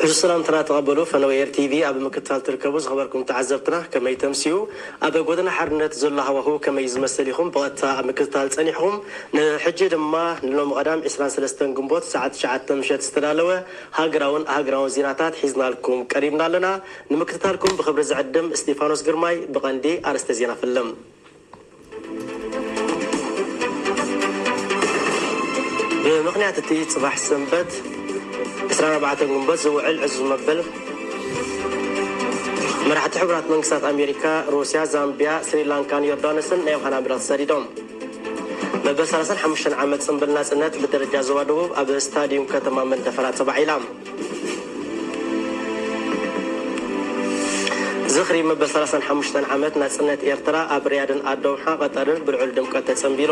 እዚ ሰላምትና ተቐበሉ። ፈነወ ኤር ቲቪ ኣብ ምክትታል ትርከቡ ዝኸበርኩም ተዓዘብትና ከመይ ተምስዩ? ኣብ ጎደና ሓርነት ዘሎ ሃዋሁ ከመይ ዝመስል ኢኹም ብቐጥታ ኣብ ምክትታል ጸኒሕኹም? ንሕጂ ድማ ንሎሚ ቀዳም ዕስራን ሰለስተን ግንቦት ሰዓት ትሽዓተ ምሸት ዝተዳለወ ሃገራውን ሃገራውን ዜናታት ሒዝናልኩም ቀሪብና ኣለና። ንምክትታልኩም ብኽብሪ ዝዕድም እስጢፋኖስ ግርማይ። ብቐንዲ ኣርእስተ ዜና ፍልም። ብምኽንያት እቲ ጽባሕ ሰንበት ዕስራን ኣርባዕተን ግንቦት ዝውዕል ዕዙዝ መበል፣ መራሕቲ ሕቡራት መንግስታት ኣሜሪካ፣ ሩስያ፣ ዛምቢያ፣ ስሪላንካን ዮርዳኖስን ናይ ዮሃና ምድር ሰዲዶም። መበል ሰላሳን ሓሙሽተን ዓመት ጽምብል ናጽነት ብደረጃ ዞባ ደቡብ ኣብ ስታዲዩም ከተማ መንደፈራ ተባዒላ። ዝኽሪ መበል ሰላሳን ሓሙሽተን ዓመት ናጽነት ኤርትራ ኣብ ሪያድን ኣዶብሓ ቀጠርን ብልዑል ድምቀት ተጸንቢሩ።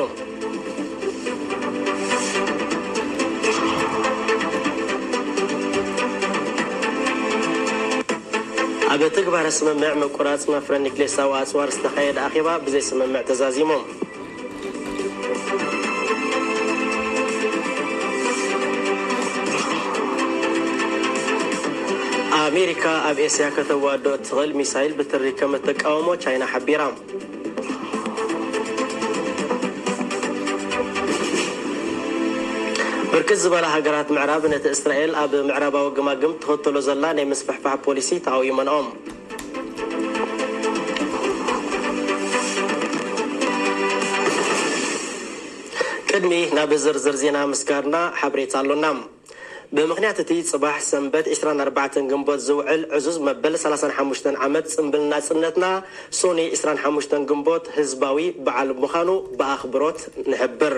ኣብ ትግባረ ስምምዕ ምቁራጽ መፍረ ኒክሌሳዊ ኣጽዋር ዝተኻየደ ኣኼባ ብዘይ ስምምዕ ተዛዚሙ። ኣሜሪካ ኣብ ኤስያ ከተዋዶ እትኽእል ሚሳይል ብትሪ ከም እትቃወሞ ቻይና ሓቢራ። ብርክት ዝበላ ሃገራት ምዕራብ ነቲ እስራኤል ኣብ ምዕራባዊ ግማግም ትኽተሎ ዘላ ናይ ምስፍሕፋሕ ፖሊሲ ተቓዊመንኦም። ቅድሚ ናብ ዝርዝር ዜና ምስጋርና ሓበሬታ ኣሎና። ብምኽንያት እቲ ጽባሕ ሰንበት ዕስራን ኣርባዕተን ግንቦት ዝውዕል ዕዙዝ መበል ሰላሳን ሓሙሽተን ዓመት ጽምብል ናጽነትና፣ ሶኒ ዕስራን ሓሙሽተን ግንቦት ህዝባዊ በዓል ምዃኑ ብኣኽብሮት ንሕብር።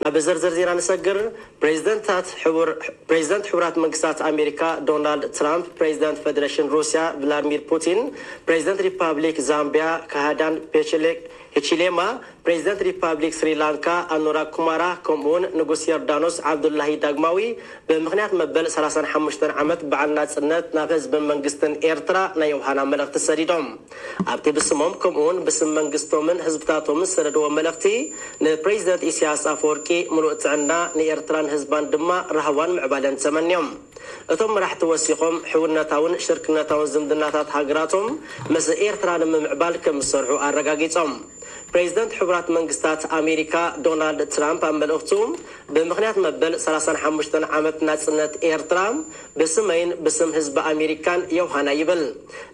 ናብ ዝርዝር ዜና ንሰግር። ፕሬዚደንታት ሕቡር-፣ ፕሬዚደንት ሕቡራት መንግስታት ኣሜሪካ ዶናልድ ትራምፕ፣ ፕሬዚደንት ፌዴሬሽን ሩስያ ቭላድሚር ፑቲን፣ ፕሬዚደንት ሪፓብሊክ ዛምቢያ ካሃዳን ፔቸሌክ ሂቺሌማ፣ ፕሬዚደንት ሪፓብሊክ ስሪላንካ ኣኑራ ኩማራ፣ ከምኡውን ንጉስ ዮርዳኖስ ዓብዱላሂ ዳግማዊ ብምኽንያት መበል ሰላሳን ሓሙሽተን ዓመት በዓል ናጽነት ናብ ህዝብን መንግስትን ኤርትራ ናይ ዮሃና መልእኽቲ ሰዲዶም። ኣብቲ ብስሞም ከምኡውን ብስም መንግስቶምን ህዝብታቶምን ዝሰደድዎ መልእኽቲ፣ ንፕሬዚደንት ኢሳያስ ኣፈወርቂ ምሉእ ጥዕና፣ ንኤርትራን ህዝባን ድማ ራህዋን ምዕባለን ተመንዮም። እቶም መራሕቲ ወሲኾም፣ ሕውነታውን ሽርክነታውን ዝምድናታት ሃገራቶም ምስ ኤርትራ ንምምዕባል ከም ዝሰርሑ ኣረጋጊጾም። ፕሬዚደንት ሕቡራት መንግስታት ኣሜሪካ ዶናልድ ትራምፕ ኣብ መልእኽቱ፣ ብምኽንያት መበል ሰላሳን ሓሙሽተን ዓመት ናጽነት ኤርትራ፣ ብስመይን ብስም ህዝቢ ኣሜሪካን ዮሃና ይብል።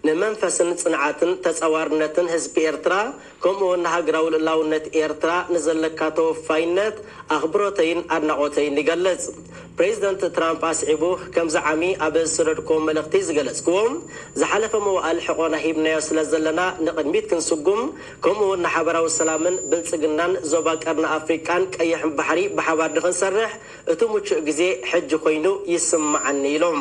ንመንፈስን ጽንዓትን ተጻዋርነትን ህዝቢ ኤርትራ፣ ከምኡውን ንሃገራዊ ልኡላውነት ኤርትራ ንዘለካ ተወፋይነት ኣኽብሮተይን ኣድናቖተይን ይገልጽ። ፕሬዚደንት ትራምፕ ኣስዒቡ፣ ከምዚ ዓሚ ኣብ ዝሰደድክዎ መልእኽቲ ዝገለጽክዎ፣ ዝሓለፈ መዋእል ሕቖና ሂብናዮ ስለ ዘለና ንቕድሚት ክንስጉም፣ ከምኡውን ንሓበራዊ ሰላምን ብልጽግናን ዞባ ቀርኒ ኣፍሪቃን ቀይሕ ባሕሪ ብሓባር ንኽንሰርሕ እቲ ምቹእ ግዜ ሕጂ ኮይኑ ይስምዓኒ ኢሎም።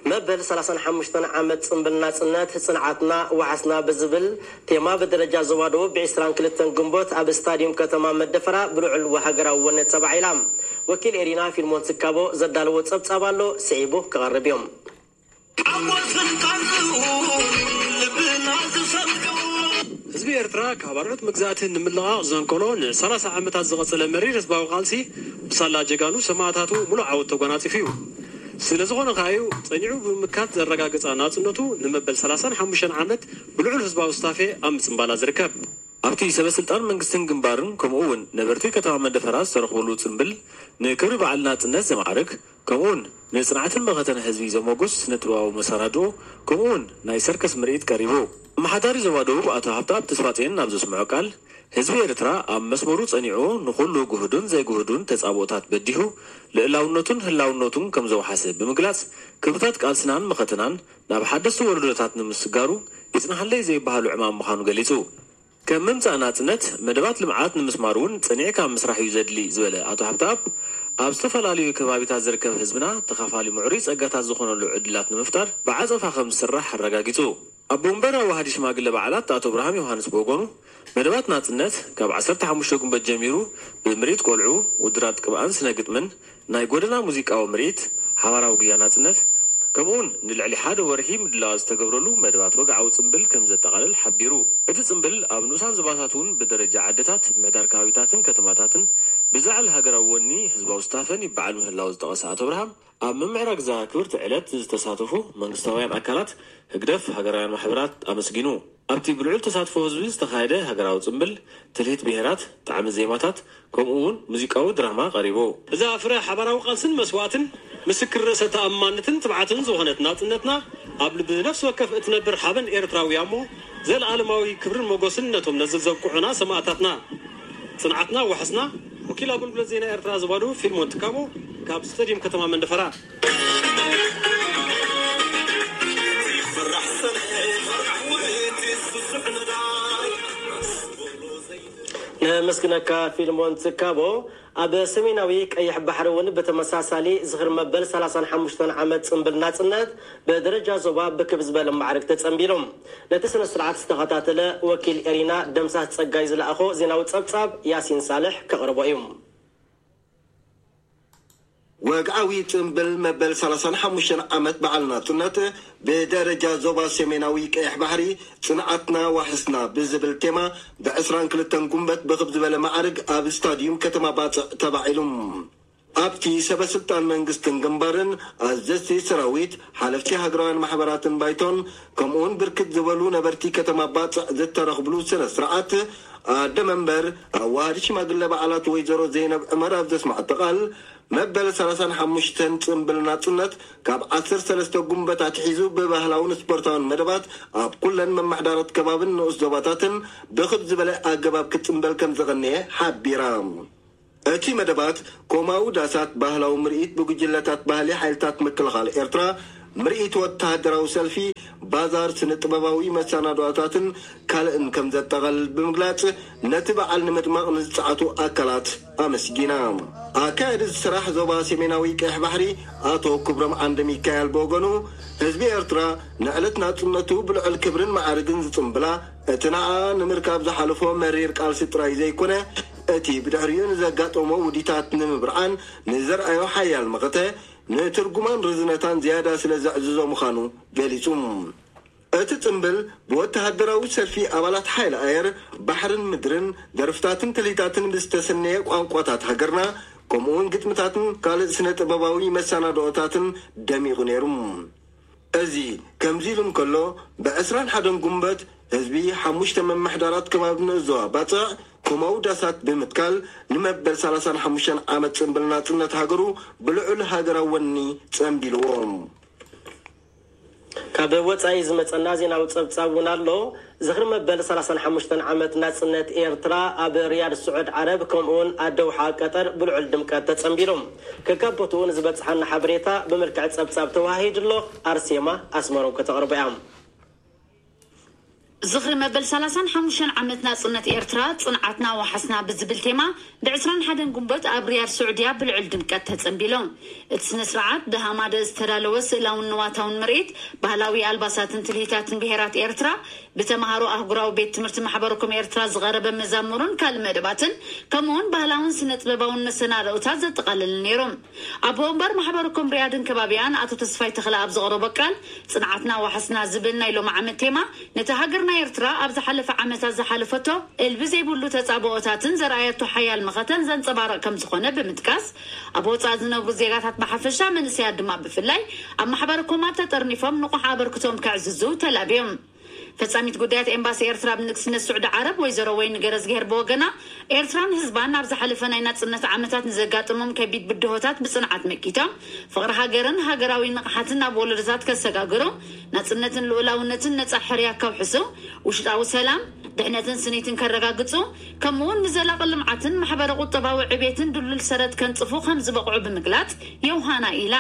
መበል ሰላሳን ሓሙሽተን ዓመት ጽምብል ናጽነት፣ ጽንዓትና ዋሕስና ብዝብል ቴማ ብደረጃ ዞባ ደቡብ ብዕስራን ክልተን ግንቦት ኣብ ስታዲየም ከተማ መደፈራ ብልዑል ሃገራዊ ወነ ተባዒላ። ወኪል ኤሪና ፊልሞን ትካቦ ዘዳለዎ ጸብጻብ ኣሎ፣ ስዒቡ ክቐርብ እዮም። ዓወት ስልጣን ልብና ዝሰምዑ። ህዝቢ ኤርትራ ካብ ኣርዑት መግዛእቲ ንምልቓቕ ዘንቀሎ ንሰላሳ ዓመታት ዝቐጸለ መሪር ህዝባዊ ቃልሲ፣ ብሳላ ጀጋኑ ሰማእታቱ ምሉእ ዓወት ተጓናጺፉ እዩ። ስለ ዝኾነ ከኣ እዩ ጸኒዑ ብምምካት ዘረጋገጻ ናጽነቱ ንመበል ሰላሳን ሓሙሽተን ዓመት ብልዑል ህዝባዊ ስታፌ ኣብ ምጽንባላ ዝርከብ። ኣብቲ ሰበ ስልጣን መንግስትን ግንባርን ከምኡ እውን ነበርቲ ከተማ መደፈራ ዝተረኽብሉ ጽምብል፣ ንክብሪ በዓል ናጽነት ዘማዕርግ፣ ከምኡ እውን ንጽንዓትን መኸተን ህዝቢ ዘሞጉስ ስነ ጥበባዊ መሰናድኦ፣ ከምኡ እውን ናይ ሰርከስ ምርኢት ቀሪቡ። ኣመሓዳሪ ዞባ ደቡብ ኣቶ ሃብተኣብ ተስፋጽዮን ኣብ ዘስምዖ ቃል፣ ህዝቢ ኤርትራ ኣብ መስመሩ ጸኒዑ፣ ንኹሉ ግሁድን ዘይግሁድን ተጻብኦታት በዲሁ፣ ልእላውነቱን ህላውነቱን ከም ዘውሓሰ ብምግላጽ፣ ክብርታት ቃልስናን መኸተናን ናብ ሓደስቲ ወለዶታት ንምስጋሩ ይጽናሓለይ ዘይበሃሉ ዕማም ምዃኑ ገሊጹ። ከም ምምጻእ ናጽነት፣ መደባት ልምዓት ንምስማር እውን ጸኒዕካ ምስራሕ እዩ ዘድሊ ዝበለ ኣቶ ሃብተኣብ፣ ኣብ ዝተፈላለዩ ከባቢታት ዝርከብ ህዝብና ተኻፋሊ ምዕሩይ ጸጋታት ዝኾነሉ ዕድላት ንምፍጣር ብዓጸፋ ከም ዝስራሕ ኣረጋጊጹ። ኣቦ መንበር ኣዋሃዲ ሽማግለ በዓላት ኣቶ እብርሃም ዮሃንስ ብወገኑ፣ መደባት ናጽነት ካብ ዓሰርተ ሓሙሽተ ግንቦት ጀሚሩ ብምርኢት ቆልዑ፣ ውድድራት ቅብኣን ስነ ግጥምን፣ ናይ ጎደና ሙዚቃዊ ምርኢት፣ ሓባራዊ ጉያ ናጽነት፣ ከምኡውን ንልዕሊ ሓደ ወርሒ ምድላዋት ዝተገብረሉ መደባት ወግዓዊ ጽምብል ከም ዘጠቓልል ሓቢሩ። እቲ ጽምብል ኣብ ንኡሳን ዞባታት እውን ብደረጃ ዓድታት፣ ምሕዳር ከባቢታትን ከተማታትን ብዝለዓለ ሃገራዊ ወኒ ህዝባዊ ስታፈን ይበዓል ምህላው ዝጠቐሰ ኣቶ ኣብርሃም፣ ኣብ ምምዕራግ እዛ ክብርቲ ዕለት ዝተሳተፉ መንግስታውያን ኣካላት፣ ህግደፍ፣ ሃገራውያን ማሕበራት ኣመስጊኑ። ኣብቲ ብልዑል ተሳትፎ ህዝቢ ዝተኻየደ ሃገራዊ ጽምብል፣ ትልሂት ብሄራት፣ ጣዕሚ ዜማታት፣ ከምኡ እውን ሙዚቃዊ ድራማ ቀሪቡ። እዛ ፍረ ሓባራዊ ቃልስን መስዋእትን፣ ምስክር ርእሰ ተኣማንነትን ትብዓትን ዝኾነት ናጽነትና፣ ኣብ ልቢ ነፍሲ ወከፍ እትነብር ሓበን ኤርትራዊ እያ እሞ፣ ዘለኣለማዊ ክብርን ሞገስን ነቶም ነዚ ዘብቅዑና ሰማእታትና። ጽንዓትና ዋሕስና። ወኪል ኣገልግሎት ዜና ኤርትራ ዞባ ደቡብ ፊልሞን ትካቦ፣ ካብ ስታድዩም ከተማ መንደፈራ። ነመስግነካ ፊልሞን ትካቦ። ኣብ ሰሜናዊ ቀይሕ ባሕሪ እውን ብተመሳሳሊ ዝኽሪ መበል ሰላሳን ሓሙሽተን ዓመት ጽምብል ናጽነት ብደረጃ ዞባ ብክብ ዝበለ ማዕርግ ተጸንቢሉ። ነቲ ስነ ስርዓት ዝተኸታተለ ወኪል ኤሪና ደምሳስ ጸጋይ ዝለኣኾ ዜናዊ ጸብጻብ ያሲን ሳልሕ ከቕርቦ እዩ። ወግዓዊ ጽምብል መበል ሰላሳን ሓሙሽተን ዓመት በዓል ናጽነት ብደረጃ ዞባ ሰሜናዊ ቀይሕ ባሕሪ ጽንዓትና ዋሕስና ብዝብል ቴማ ብ ዕስራን ክልተን ጉንበት ብኽብ ዝበለ ማዕርግ ኣብ ስታድዩም ከተማ ባጽዕ ተባዒሉ። ኣብቲ ሰበ ስልጣን መንግስትን ግንባርን፣ ኣዘዝቲ ሰራዊት፣ ሓለፍቲ ሃገራውያን ማሕበራትን ባይቶን፣ ከምኡውን ብርክት ዝበሉ ነበርቲ ከተማ ባጽዕ ዝተረኽብሉ ስነ ስርዓት፣ ኣደ መንበር ኣዋሃዲ ሽማግለ በዓላት ወይዘሮ ዘይነብ ዕመር ኣብ ዘስማዕቶ ቃል፣ መበል ሰላሳን ሓሙሽተን ጽምብል ናጽነት ካብ ዓሰርተ ሰለስተ ጉንበት ኣትሒዙ ብባህላውን ስፖርታውን መደባት ኣብ ኩለን መማሕዳራት ከባብን ንኡስ ዞባታትን ብኽብ ዝበለ ኣገባብ ክጽምበል ከም ዝቐነየ ሓቢራ። እቲ መደባት ኮማዊ ዳሳት፣ ባህላዊ ምርኢት ብጉጅለታት ባህሊ ሓይልታት ምክልኻል ኤርትራ፣ ምርኢት ወተሃደራዊ ሰልፊ፣ ባዛር፣ ስነ ጥበባዊ መሰናዶታትን ካልእን ከም ዘጠቓልል ብምግላጽ፣ ነቲ በዓል ንምድማቕ ንዝጸዓቱ ኣካላት ኣመስጊና። ኣካያዲ ስራሕ ዞባ ሰሜናዊ ቀይሕ ባሕሪ ኣቶ ክብሮም ዓንደ ሚካኤል ብወገኑ፣ ህዝቢ ኤርትራ ንዕለት ናጽነቱ ብልዑል ክብርን ማዕርግን ዝጽምብላ፣ እቲ ንዓ ንምርካብ ዝሓለፎ መሪር ቃልሲ ጥራይ ዘይኮነ፣ እቲ ብድሕሪኡ ንዘጋጠሞ ውዲታት ንምብርዓን ንዘርኣዮ ሓያል መኸተ፣ ንትርጉማን ርዝነታን ዝያዳ ስለ ዘዕዝዞ ምዃኑ ገሊጹ። እቲ ጽምብል ብወተሃደራዊ ሰልፊ ኣባላት ሓይሊ ኣየር፣ ባሕርን ምድርን፣ ደርፍታትን ትልሂታትን ብዝተሰነየ ቋንቋታት ሃገርና፣ ከምኡውን ግጥምታትን ካልእ ስነ ጥበባዊ መሰናድኦታትን ደሚቑ ነይሩ። እዚ ከምዚ ኢሉ እንከሎ፣ ብ ዕስራን ሓደን ጉንበት ህዝቢ ሓሙሽተ መማሕዳራት ከባቢ ንኡስ ዞባ ባጽዕ ኮማዊ ዳሳት ብምትካል ንመበል ሰላሳን ሓሙሽተን ዓመት ጽምብል ናጽነት ሃገሩ ብልዑል ሃገራዊ ወኒ ጸምቢልዎ። ካብ ወጻኢ ዝመጸና ዜናዊ ጸብጻብ እውን ኣሎ። ዝኽሪ መበል ሰላሳን ሓሙሽተን ዓመት ናጽነት ኤርትራ ኣብ ሪያድ ስዑድ ዓረብ ከምኡውን ኣደውሓ ቀጠር ብልዑል ድምቀት ተጸንቢሉ። ከካብ ቦትኡ ንዝበጽሓና ሓበሬታ ብመልክዕ ጸብጻብ ተዋሂዱ ኣሎ። ኣርሴማ ኣስመሮም ከተቕርቦ እያ። ዝኽሪ መበል ሰላሳን ሓሙሽተን ዓመት ናጽነት ኤርትራ፣ ጽንዓትና ዋሕስና ብዝብል ቴማ፣ ብ ዕስራን ሓደን ጉንበት ኣብ ሪያድ ስዑድያ ብልዑል ድምቀት ተጸንቢሉ። እቲ ስነ ስርዓት ብሃማደ ዝተዳለወ ስእላውን ንዋታውን ምርኢት፣ ባህላዊ ኣልባሳትን ትልሂታትን ብሄራት ኤርትራ፣ ብተማሃሮ ኣህጉራዊ ቤት ትምህርቲ ማሕበረ ኮም ኤርትራ ዝቐረበ መዛሙርን ካልእ መደባትን፣ ከምኡውን ባህላውን ስነ ጥበባውን መሰናድኦታት ዘጠቓለለ ነይሩ። ኣቦ ወንበር ማሕበረ ኮም ሪያድን ከባቢኣን ኣቶ ተስፋይ ተኽለ ኣብ ዘቕረቦ ቃል፣ ጽንዓትና ዋሕስና ዝብል ናይ ሎሚ ዓመት ቴማ፣ ነቲ ሃገርና ኤርትራ ኣብ ዝሓለፈ ዓመታት ዝሓለፈቶ እልቢ ዘይብሉ ተጻብኦታትን ዘርኣየቶ ሓያል መኸተን ዘንጸባርቕ ከም ዝኾነ ብምጥቃስ፣ ኣብ ወጻኢ ዝነብሩ ዜጋታት ብሓፈሻ መንእሰያት ድማ ብፍላይ ኣብ ማሕበረ ኮማት ተጠርኒፎም ንቑሕ ኣበርክቶም ከዕዝዙ ተላብዮም። ፈጻሚት ጉዳያት ኤምባሲ ኤርትራ ኣብ ንግስነት ስዑዲ ዓረብ ወይዘሮ ወይኒ ገረዝግሄር ብወገና፣ ኤርትራን ህዝባን ኣብ ዝሓለፈ ናይ ናጽነት ዓመታት ንዘጋጠሞም ከቢድ ብድሆታት ብጽንዓት መኪቶም፣ ፍቕሪ ሃገርን ሃገራዊ ንቕሓትን ናብ ወለዶታት ከሰጋግሩ፣ ናጽነትን ልኡላውነትን ነጻ ሕርያ ከውሕሱ፣ ውሽጣዊ ሰላም፣ ድሕነትን ስኒትን ከረጋግጹ፣ ከምኡውን ንዘላቒ ልምዓትን ማሕበረ ቁጠባዊ ዕቤትን ድልዱል ሰረት ከንጽፉ ከም ዝበቕዑ ብምግላጽ፣ ዮሃና ኢላ።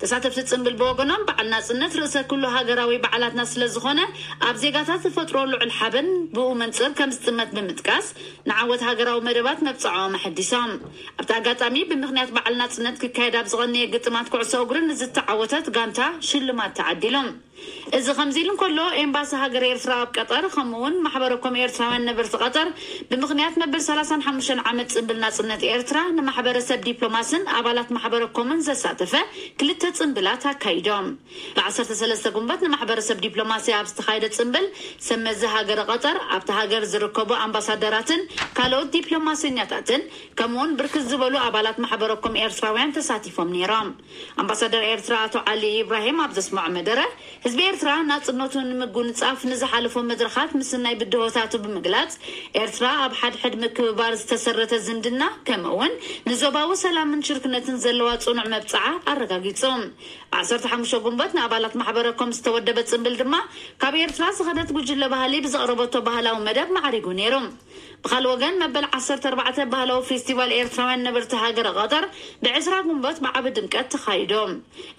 ተሳተፍቲ ጽምብል ብወገኖም፣ በዓል ናጽነት ርእሰ ኩሉ ሃገራዊ በዓላትና ስለ ዝኾነ፣ ኣብ ዜጋታት ዝፈጥሮ ልዑል ሓበን ብኡ መንጽር ከም ዝጥመት ብምጥቃስ፣ ንዓወት ሃገራዊ መደባት መብጽዓኦም ኣሐዲሶም። ኣብቲ ኣጋጣሚ፣ ብምኽንያት በዓል ናጽነት ክካየድ ኣብ ዝቐነየ ግጥማት ኩዕሶ እግሪ ንዝተዓወተት ጋንታ ሽልማት ተዓዲሉ። እዚ ከምዚ ኢሉ እንከሎ፣ ኤምባሲ ሃገር ኤርትራ ኣብ ቀጠር፣ ከምኡ እውን ማሕበረኮም ኤርትራውያን ነበርቲ ቀጠር፣ ብምኽንያት መበል ሰላሳን ሓሙሽተን ዓመት ጽምብል ናጽነት ኤርትራ፣ ንማሕበረሰብ ዲፕሎማስን ኣባላት ማሕበረኮምን ዘሳተፈ ክልተ ጽምብላት ኣካይዶም። ብ ዓሰርተ ሰለስተ ጉንበት ንማሕበረሰብ ዲፕሎማሲ ኣብ ዝተኻየደ ጽምብል፣ ሰብ መዚ ሃገረ ቀጠር፣ ኣብቲ ሃገር ዝርከቡ ኣምባሳደራትን ካልኦት ዲፕሎማሰኛታትን፣ ከምኡውን ብርክት ዝበሉ ኣባላት ማሕበረኮም ኤርትራውያን ተሳቲፎም ነይሮም። ኣምባሳደር ኤርትራ ኣቶ ዓሊ ኢብራሂም ኣብ ዘስምዖ መደረ፣ ህዝቢ ኤርትራ ናጽነቱ ንምጉንጻፍ ንዝሓለፎ መድረኻት ምስናይ ብድሆታቱ ብምግላጽ፣ ኤርትራ ኣብ ሓድሕድ ምክብባር ዝተሰረተ ዝምድና፣ ከምኡ እውን ንዞባዊ ሰላምን ሽርክነትን ዘለዋ ጽኑዕ መብጽዓ ኣረጋጊጹ። ብ ዓሰርተ ሓሙሽተ ጉንበት ንኣባላት ማሕበረኮም ዝተወደበ ጽምብል ድማ፣ ካብ ኤርትራ ዝኸደት ጉጅለ ባህሊ ብዘቕረበቶ ባህላዊ መደብ ማዕሪጉ ነይሩ። ብኻልእ ወገን፣ መበል ዓሰርተ ኣርባዕተ ባህላዊ ፌስቲቫል ኤርትራውያን ነበርቲ ሃገረ ቀጠር ብ ዕስራ ጉንበት ብዓቢ ድምቀት ተኻይዶ።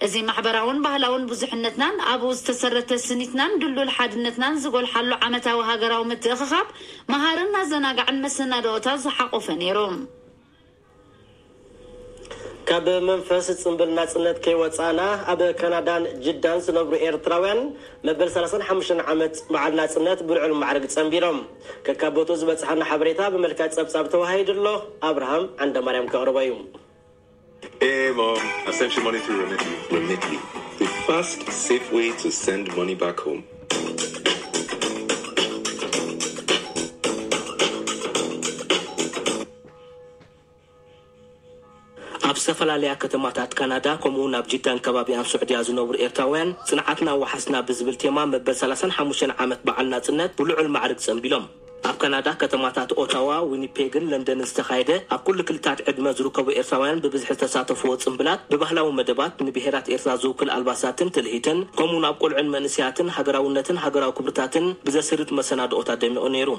እዚ ማሕበራውን ባህላውን ብዙሕነትናን ኣብኡ ዝተሰረተ ስኒትናን ድልዱል ሓድነትናን ዝጎልሓሉ ዓመታዊ ሃገራዊ ምትእኽኻብ፣ መሃርን ኣዘናጋዕን መሰናድኦታት ዝሓቖፈ ነይሩ። ካብ መንፈስ ጽምብል ናጽነት ከይወጻእና፣ ኣብ ካናዳን ጅዳን ዝነብሩ ኤርትራውያን መበል ሰላሳን ሓሙሽተን ዓመት በዓል ናጽነት ብልዑል ማዕርግ ጸንቢሎም። ከካብ ቦትኡ ዝበጽሓና ሓበሬታ ብመልክዕ ጸብጻብ ተዋሂዱ ኣሎ። ኣብርሃም ዓንደማርያም ከቕርቦ እዩ። Hey, Mom, I sent you money through Remitly. Remitly, the fast, safe way to send money back home. ኣብ ዝተፈላለያ ከተማታት ካናዳ፣ ከምኡውን ኣብ ጅዳን ከባቢኣን ስዑድያ ዝነብሩ ኤርትራውያን፣ ጽንዓትና ዋሕስና ብዝብል ቴማ መበል ሰላሳን ሓሙሽተን ዓመት በዓል ናጽነት ብልዑል ማዕርግ ጸንቢሎም። ኣብ ካናዳ ከተማታት ኦታዋ፣ ዊኒፔግን ለንደንን ዝተኻየደ፣ ኣብ ኩሉ ክልታት ዕድመ ዝርከቡ ኤርትራውያን ብብዝሒ ዝተሳተፍዎ ጽምብላት፣ ብባህላዊ መደባት፣ ንብሄራት ኤርትራ ዝውክል ኣልባሳትን ትልሂትን፣ ከምኡውን ኣብ ቆልዑን መንእሰያትን ሃገራውነትን ሃገራዊ ክብርታትን ብዘስርጽ መሰናድኦታት ደሚቑ ነይሩ።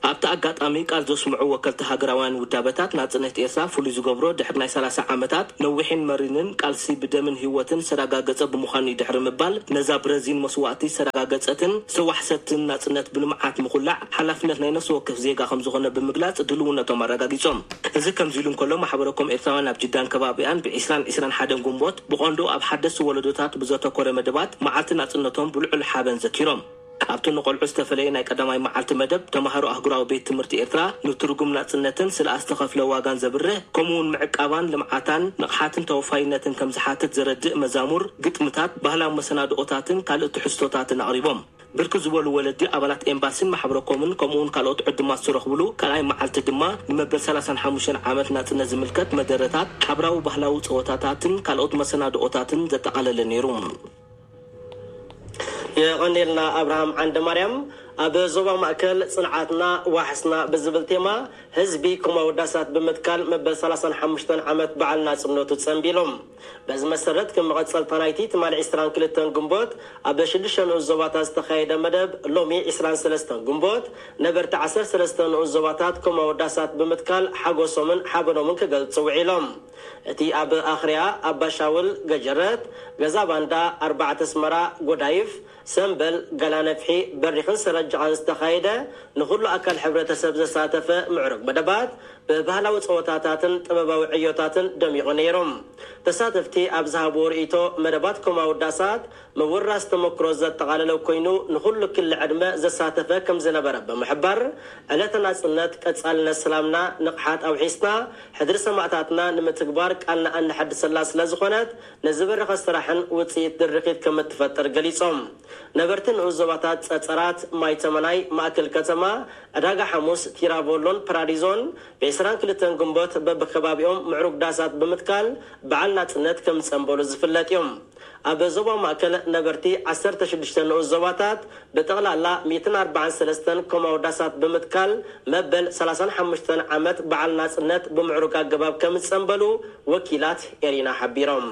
ኣብቲ ኣጋጣሚ ቃል ዘስምዑ ወከልቲ ሃገራውያን ውዳበታት፣ ናጽነት ኤርትራ ፍሉይ ዝገብሮ፣ ድሕሪ ናይ ሰላሳ ዓመታት ነዊሕን መሪርን ቃልሲ ብደምን ህይወትን ዝተረጋገጸ ብምዃኑ እዩ ድሕሪ ምባል፣ ነዛ ብረዚን መስዋእቲ ዝተረጋገጸትን ዝተዋሕሰትን ናጽነት ብልምዓት ምኹላዕ ሓላፍነት ናይ ነፍሲ ወከፍ ዜጋ ከም ዝኾነ ብምግላጽ ድልውነቶም ኣረጋጊጾም። እዚ ከምዚ ኢሉ እንከሎ፣ ማሕበረኮም ኤርትራውያን ኣብ ጅዳን ከባቢኣን ብ ዕስራን ዕስራን ሓደን ጉንቦት ብቐንዱ ኣብ ሓደስቲ ወለዶታት ብዘተኮረ መደባት መዓልቲ ናጽነቶም ብልዑል ሓበን ዘኪሮም። ኣብቲ ንቆልዑ ዝተፈለየ ናይ ቀዳማይ መዓልቲ መደብ፣ ተማሃሮ ኣህጉራዊ ቤት ትምህርቲ ኤርትራ ንትርጉም ናጽነትን ስለ ዝተኸፍለ ዋጋን ዘብርህ፣ ከምኡውን ምዕቃባን ልምዓታን ንቕሓትን ተወፋይነትን ከም ዝሓትት ዘረድእ መዛሙር፣ ግጥምታት፣ ባህላዊ መሰናድኦታትን ካልእ ትሕዝቶታትን ኣቕሪቦም። ብርክት ዝበሉ ወለዲ ኣባላት ኤምባሲን ማሕበረኮምን ከምኡውን ካልኦት ዕዱማት ዝረኽብሉ ካልኣይ መዓልቲ ድማ ንመበል ሰላሳን ሓሙሽተን ዓመት ናጽነት ዝምልከት መደረታት፣ ሓብራዊ ባህላዊ ጸወታታትን ካልኦት መሰናድኦታትን ዘጠቓለለ ነይሩ። የቐኔልና ኣብርሃም ዓንደ ማርያም። ኣብ ዞባ ማእከል ጽንዓትና ዋሕስና ብዝብል ቴማ ህዝቢ ከም ኣወዳሳት ብምትካል መበል ሰላሳን ሓሙሽተን ዓመት በዓል ናጽነቱ ጸንቢሎም። በዚ መሰረት፣ ከም መቐጸልታ ናይቲ ትማሊ ዕስራን ክልተን ግንቦት ኣብ ሽዱሽተ ንኡስ ዞባታት ዝተኻየደ መደብ፣ ሎሚ ዕስራን ሰለስተን ግንቦት ነበርቲ ዓሰርተ ሰለስተ ንኡስ ዞባታት ከም ኣወዳሳት ብምትካል ሓጎሶምን ሓበኖምን ክገልጹ ውዒሎም። እቲ ኣብ ኣኽርያ፣ ኣባሻውል፣ ገጀረት፣ ገዛ ባንዳ፣ ኣርባዕተ ኣስመራ፣ ጎዳይፍ፣ ሰምበል፣ ጋላነፍሒ፣ በሪኽን ሰረጅቓን ዝተኻየደ ንኹሉ ኣካል ሕብረተሰብ ዘሳተፈ ምዕሩግ መደባት ብባህላዊ ጸወታታትን ጥበባዊ ዕዮታትን ደሚቑ ነይሩ። ተሳተፍቲ ኣብ ዝሃብዎ ርእይቶ፣ መደባት ከም ኣወዳሳት ምውራስ ተመክሮ ዘጠቓለለ ኮይኑ፣ ንኹሉ ክሊ ዕድመ ዘሳተፈ ከም ዝነበረ ብምሕባር፣ ዕለተ ናጽነት ቀጻልነት ሰላምና ንቕሓት ኣውሒስና፣ ሕድሪ ሰማእታትና ንምትግባር ቃልና ኣነሐድሰላ ስለ ዝኾነት፣ ንዝበረኸ ስራሕን ውጽኢት ድርኺት ከም እትፈጥር ገሊጾም። ነበርቲ ንኡስ ዞባታት ጸጸራት፣ ማይ ተመናይ፣ ማእከል ከተማ፣ ዕዳጋ ሓሙስ፣ ቲራቮሎን ፓራዲዞን፣ ብ ዕስራን ክልተን ግንቦት በብከባቢኦም ምዕሩግ ዳሳት ብምትካል በዓል ናጽነት ከም ዝጸንበሉ ዝፍለጥ እዮም። ኣብ ዞባ ማእከል ነበርቲ ዓሰርተ ሽዱሽተ ንኡስ ዞባታት ብጠቕላላ ሚእትን ኣርባዓን ሰለስተን ኮማዊ ዳሳት ብምትካል መበል ሰላሳን ሓሙሽተን ዓመት በዓል ናጽነት ብምዕሩግ ኣገባብ ከም ዝጸንበሉ ወኪላት ኤሪና ሓቢሮም።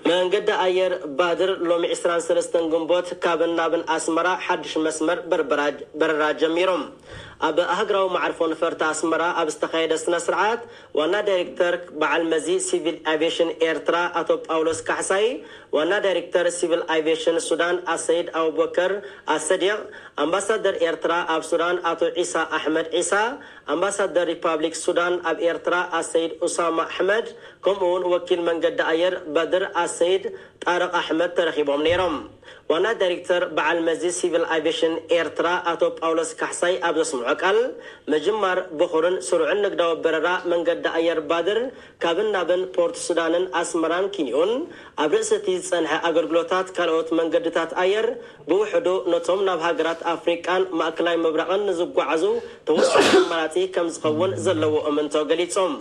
መንገዲ ኣየር ባድር ሎሚ ዕስራን ሰለስተን ግንቦት ካብን ናብን ኣስመራ ሓድሽ መስመር በርበራ-፣ በረራ ጀሚሮም። ኣብ ኣህግራዊ መዓርፎ ነፈርቲ ኣስመራ ኣብ ዝተኻየደ ስነ ስርዓት፣ ዋና ዳይሬክተር በዓል መዚ ሲቪል ኣቪዬሽን ኤርትራ ኣቶ ጳውሎስ ካሕሳይ፣ ዋና ዳይሬክተር ሲቪል ኣቪዬሽን ሱዳን ኣሰይድ ኣቡበከር ኣሰዲቕ፣ ኣምባሳደር ኤርትራ ኣብ ሱዳን ኣቶ ዒሳ ኣሕመድ ዒሳ፣ ኣምባሳደር ሪፓብሊክ ሱዳን ኣብ ኤርትራ ኣሰይድ ኡሳማ ኣሕመድ፣ ከምኡ እውን ወኪል መንገዲ ኣየር ባድር ኣሰይድ ጣርቕ ኣሕመድ ተረኺቦም ነይሮም። ዋና ዳይሬክተር በዓል መዚ ሲቪል ኣቪዬሽን ኤርትራ ኣቶ ጳውሎስ ካሕሳይ ኣብ ዘስምዖ ቃል፣ ምጅማር ብኹርን ስሩዕን ንግዳዊ በረራ መንገዲ ኣየር ባድር ካብን ናብን ፖርት ሱዳንን ኣስመራን ኪንዮን፣ ኣብ ርእሲ እቲ ዝጸንሐ ኣገልግሎታት ካልኦት መንገድታት ኣየር ብውሕዱ ነቶም ናብ ሃገራት ኣፍሪቃን ማእከላይ ምብራቕን ንዝጓዓዙ ተወሳኺ ኣማራጺ ከም ዝኸውን ዘለዎ እምንቶ ገሊጾም።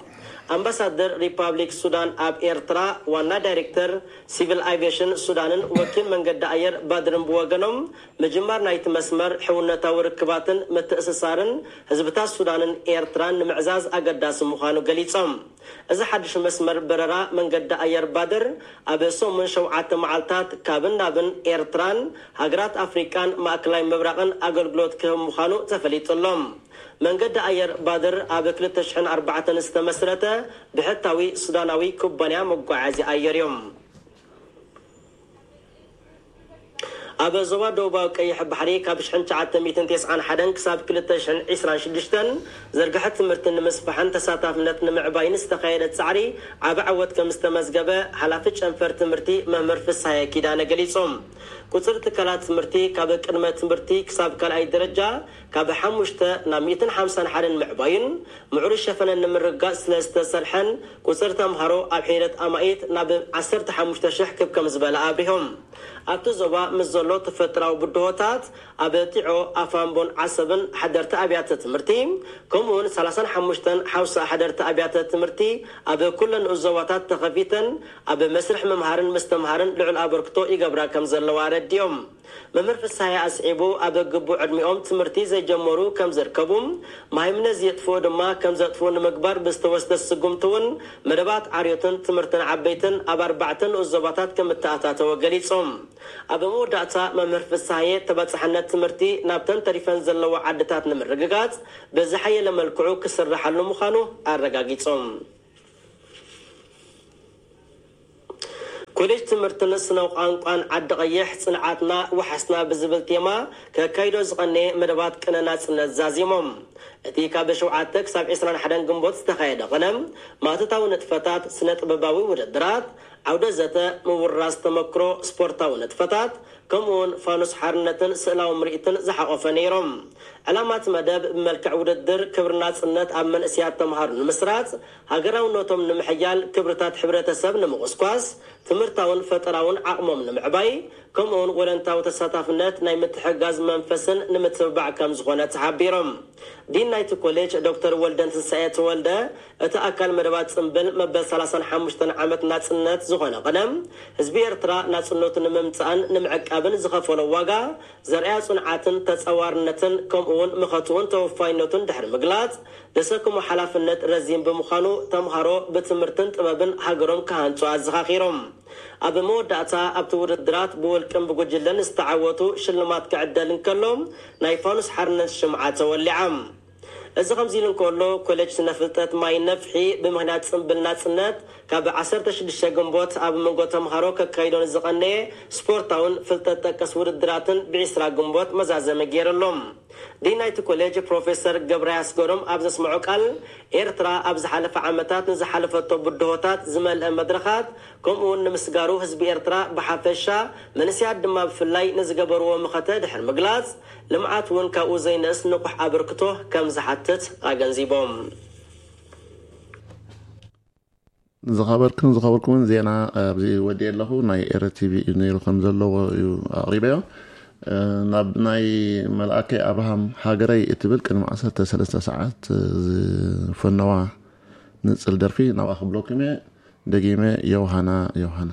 ኣምባሳደር ሪፓብሊክ ሱዳን ኣብ ኤርትራ፣ ዋና ዳይሬክተር ሲቪል ኣቪዬሽን ሱዳንን ወኪል መንገዲ ኣየር ባድርን ብወገኖም፣ ምጅማር ናይቲ መስመር ሕውነታዊ ርክባትን ምትእስሳርን ህዝብታት ሱዳንን ኤርትራን ንምዕዛዝ ኣገዳሲ ምዃኑ ገሊጾም። እዚ ሓድሽ መስመር በረራ መንገዲ ኣየር ባድር ኣብ ሰሙን ሸውዓተ መዓልታት ካብን ናብን ኤርትራን ሃገራት ኣፍሪቃን ማእከላይ ምብራቕን ኣገልግሎት ክህብ ምዃኑ ተፈሊጡ ኣሎ። መንገዲ ኣየር ባድር ኣብ ክልተ ሽሕን ኣርባዕተን ዝተመስረተ ብሕታዊ ሱዳናዊ ኩባንያ መጓዓዝያ ኣየር እዩ። ኣብ ዞባ ደቡባዊ ቀይሕ ባሕሪ ካብ ሽሕን ትሽዓተ ሚእትን ተስዓን ሓደን ክሳብ ክልተ ሽሕን ዕስራን ሽዱሽተን ዝርግሐ ትምህርቲ ንምስፋሕን ተሳታፍነት ንምዕባይን ዝተኻየደ ጻዕሪ ዓቢ ዓወት ከም ዝተመዝገበ ሓላፊ ጨንፈር ትምህርቲ መምህር ፍስሃየ ኪዳነ ገሊጾም። ቁጽሪ ትካላት ትምህርቲ ካብ ቅድመ ትምህርቲ ክሳብ ካልኣይ ደረጃ ካብ ሓሙሽተ ናብ ሚእትን ሓምሳን ሓደን ምዕባይን ምዕሩይ ሸፈነን ንምርግጋጽ ስለ ዝተሰርሐን ቁጽሪ ተምሃሮ ኣብ ሒደት ኣማኢት ናብ ዓሰርተ ሓሙሽተ ሽሕ ክብ ከም ዝበለ ኣብሪሆም። ኣብቲ ዞባ ምስ ዘሎ ተፈጥራዊ ብድሆታት ኣብ ጢዖ፣ ኣፋምቦን ዓሰብን ሓደርቲ ኣብያተ ትምህርቲ ከምኡውን ሰላሳን ሓሙሽተን ሓውሳ ሓደርቲ ኣብያተ ትምህርቲ ኣብ ኩለን ዞባታት ተኸፊተን ኣብ መስርሕ ምምሃርን ምስትምሃርን ልዑል ኣበርክቶ ይገብራ ከም ዘለዋ ኣረዲኦም። መምህር ፍስሃየ ኣስዒቡ፣ ኣብ ግቡእ ዕድሚኦም ትምህርቲ ዘይጀመሩ ከም ዝርከቡ፣ መሃይምነት ዝየጥፍኡ ድማ ከም ዘጥፍኡ ንምግባር ብዝተወስደ ስጉምቲ እውን መደባት ዓርዮትን ትምህርትን ዓበይትን ኣብ ኣርባዕተ ንኡስ ዞባታት ከም እተኣታተወ ገሊጾም። ኣብ መወዳእታ መምህር ፍስሃየ ተባጻሕነት ትምህርቲ ናብተን ተሪፈን ዘለዋ ዓድታት ንምርግጋጽ ብዝሓየለ መልክዑ ክስርሓሉ ምዃኑ ኣረጋጊጾም። ኮሌጅ ትምህርትን ስነ ቋንቋን ዓዲ ቀይሕ፣ ጽንዓትና ወሓስና ብዝብል ቴማ ከካይዶ ዝቐነየ መደባት ቅነ ናጽነት ዛዚሞም። እቲ ካብ ሸውዓተ ክሳብ ዕስራን ሓደን ግንቦት ዝተኻየደ ቅነ፣ ማእቶታዊ ንጥፈታት፣ ስነ ጥበባዊ ውድድራት፣ ዓውደ ዘተ፣ ምውራስ ተመክሮ፣ ስፖርታዊ ንጥፈታት፣ ከምኡውን ፋኑስ ሓርነትን ስእላዊ ምርኢትን ዝሓቖፈ ነይሮም። ዕላማ እቲ መደብ ብመልክዕ ውድድር ክብሪ ናጽነት ኣብ መንእሰያት ተምሃሮ ንምስራጽ፣ ሃገራውነቶም ንምሕያል፣ ክብርታት ሕብረተሰብ ንምቑስቋስ፣ ትምህርታውን ፈጠራውን ዓቕሞም ንምዕባይ፣ ከምኡውን ወለንታዊ ተሳታፍነት ናይ ምትሕግጋዝ መንፈስን ንምትብባዕ ከም ዝኾነ ተሓቢሮም። ዲን ናይቲ ኮሌጅ ዶክተር ወልደን ትንሳኤ ተወልደ፣ እቲ ኣካል መደባት ጽምብል መበል ሰላሳን ሓሙሽተን ዓመት ናጽነት ዝኾነ ቅነ፣ ህዝቢ ኤርትራ ናጽነቱ ንምምጻእን ንምዕቃብን ዝኸፈሎ ዋጋ ዘርኣያ ጽንዓትን ተጻዋርነትን ከምኡውን መኸትኡን ተወፋይነቱን ድሕሪ ምግላጽ፣ ዘሰክሞ ሓላፍነት ረዚን ብምዃኑ፣ ተምሃሮ ብትምህርትን ጥበብን ሃገሮም ክሃንጹ ኣዘኻኺሮም። ኣብ መወዳእታ፣ ኣብቲ ውድድራት ብውልቅን ብጉጅለን ዝተዓወቱ ሽልማት ክዕደል እንከሎ፣ ናይ ፋኑስ ሓርነት ሽምዓ ተወሊዓ። እዚ ከምዚ ኢሉ እንከሎ፣ ኮሌጅ ስነ ፍልጠት ማይ ነፍሒ ብምኽንያት ጽምብል ናጽነት ካብ ዓሰርተ ሽዱሽተ ግንቦት ኣብ መንጎ ተምሃሮ ከካይዶ ንዝቐነየ ስፖርታውን ፍልጠት ጠቀስ ውድድራትን ብዒስራ ግንቦት መዛዘሚ ገይሩ ኣሎ። ዲን ናይቲ ኮሌጅ ፕሮፌሰር ገብረ ኣስገዶም ኣብ ዘስምዖ ቃል፣ ኤርትራ ኣብ ዝሓለፈ ዓመታት ንዝሓለፈቶ ብድሆታት ዝመልአ መድረኻት፣ ከምኡ እውን ንምስጋሩ ህዝቢ ኤርትራ ብሓፈሻ፣ መንእሰያት ድማ ብፍላይ ንዝገበርዎ መኸተ ድሕሪ ምግላጽ፣ ልምዓት እውን ካብኡ ዘይንእስ ንቑሕ ኣበርክቶ ከም ዝሓትት ኣገንዚቦም። ዝኸበርክን ዝኸበርኩምን፣ ዜና ኣብዚ ወዲኤ ኣለኹ። ናይ ኤረ ቲቪ እዩ ነይሩ ከም ዘለዎ እዩ ኣቕሪበዮ። እ፣ ናብ ናይ መልኣከይ ኣብርሃም ሃገረይ እትብል ቅድሚ ዓሰርተ ሰለስተ ሰዓት ዝፈነዋ ንጽል ደርፊ ናብኣ ክብለኩም እየ። ደጊመ ዮሃና ዮሃና።